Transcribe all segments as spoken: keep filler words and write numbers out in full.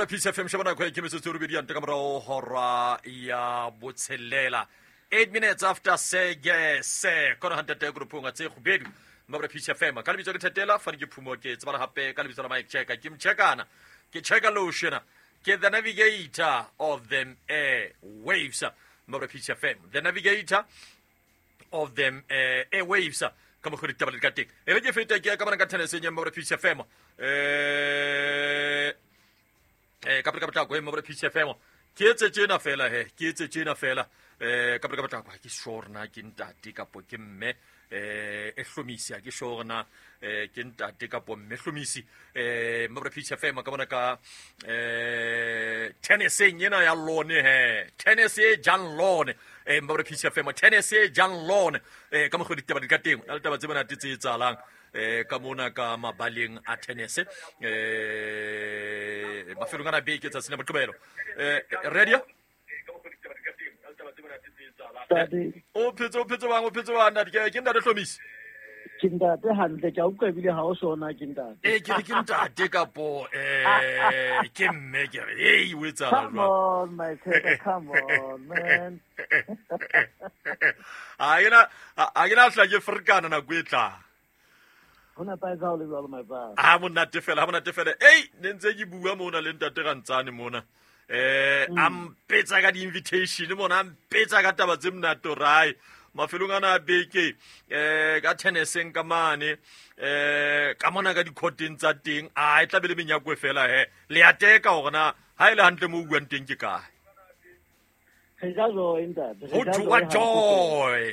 Mabra Peace F M sheba nako e ke metsotso e robedi ya nte ka morao hora ya botshelela. Eight minutes after sege se kona hantate grupong tse kgubedu. Mabra Peace F M ka lebitso ke Thetela fane ke Phumo ke tsebana hape ka lebitso la Mike Cheka ke mchekana ke cheka lotion ke the navigator of them air waves. Mabra Peace F M the navigator of them uh, airwaves ka mo ditaba le ka teng e re ke feta ke ka bona ka tennis nya Mabra Peace F M eh eh ka ka potlako e Mabra Peace F M ke etse tjena fela he ke etse tjena fela eh ka ka potlako ke sure na ke ntate kapo ke mme eh e hlomisi ke sure na eh ke ntate kapo mme hlomisi eh Mabra Peace F M ka bona ka eh tennis ena ya lone he tennis e jang lone eh Mabra Peace F M tennis e jang lone eh ka mo ditaba di ka teng le taba tse bona tse etsahalang eh ka mona ka mabaleng a tennis eh mafelong ana beke tsa sena moqebelo eh radio o phetse o phetse bang o phetse bang ntate ke ke ntate Hlomisi ke ntate hantle ke a utlwa ebile ha o sona ke ntate eh ke ke ntate kapo eh ke mme ke re hey o etsala jwang come on my tata come on man a ena a ena hla ke frikana nako e tla hona paisa o le jwalo my brother ha monate fela ha monate fela ei ne ntse ke bua mona le ntate Rantsane mona eh mm. Ampetsa ka di-invitation mona ampetsa ka taba tse monate rai mafelong ana a beke eh ka tenniseng ka mane eh ka mona ka dikoteng tsa teng a e tla be le menyako fela he le a teka hore na ha ile hantle mo buang teng ke kae re ja joy ntate re ja joy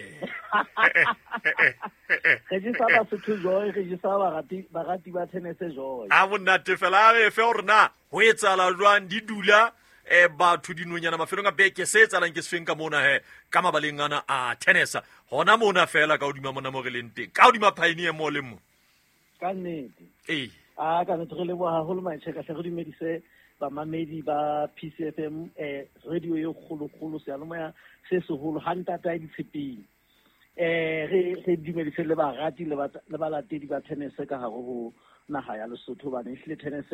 re jesa Basotho joy re jesa barati barati ba tennis joy a monate fela a re fe hore na ho etsahala jwang di dula eh batho dinonyana mafelong a beke se etsahalang ke sefeng ka mona he ka mabaleng ana a tennis hona mona fela ka hodima mona mo re leng teng ka hodima Pioneer mo le mo ka nnete ee a ka nnete re leboha haholo Macheka hle re dumedise bamamedi ba P C F M eh radio e kgolokgolo seyalemoya se seholo ha ntata ya ditshepeng eh re re dumedise le barati le le balatedi ba tennis ka hare ho naha ya Lesotho hobane ehlile tennis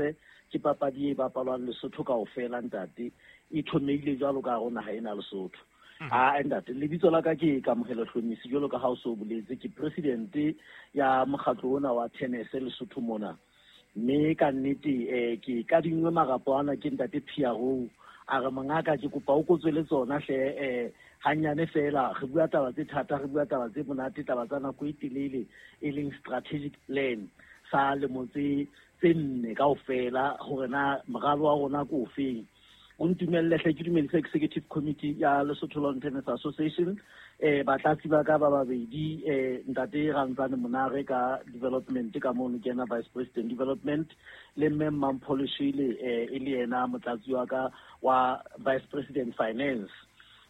ke papadi e bapalwang Lesotho kaofela ntate e thomeile jwalo ka hare ho naha ena Lesotho a ntate lebitso la ka ke Kamohelo Hlomisi jwalo ka ha o so boletse ke president ya mokgatlo ona wa tennis Lesotho mona mme ka nnete eh ke ka dingwe marapo ana ke ntate Piaro a re mongaka ke kopa o kotswele tsona hle eh hanyane fela re bua taba tse thata re bua taba tse monate taba tsa nako e telele e leng strategic plan sa lemo tse tse nne kaofela hore na moralo wa rona ke ofeng o ntumelle hle ke dumedise executive committee ya Lesotho Lawn Tennis Association eh batlatsi ba ka ba babedi eh ntate Rantsane Monare ka development ka mono ke yena vice president development le mme Mampholishile eh e le yena motlatsi wa ka wa vice president finance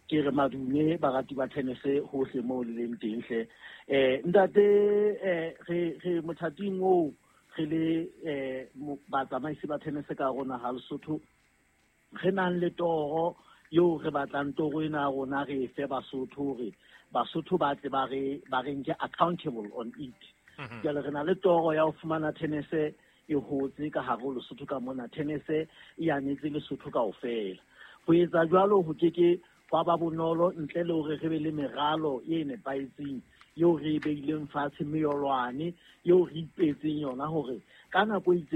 ke re madume barati ba tennis hohle moo le leng teng hle eh ntate eh re re mothating oo re le eh batsamaisi ba tennis ka rona ha Lesotho re nang le toro eo re batlang toro ena ya rona re fe Basotho hore Basotho ba tle ba re ba re nke accountable on it jwale re na le toro ya ho fumana tennis e hotse ka hare ho Lesotho ka mona tennis e anetse Lesotho kaofela ho etsa jwalo ho ke ke hwa ba bonolo ntle le hore re be le meralo e nepahetseng eo re e beileng fatshe meyolwane eo re ipetseng yona hore ka nako e itseng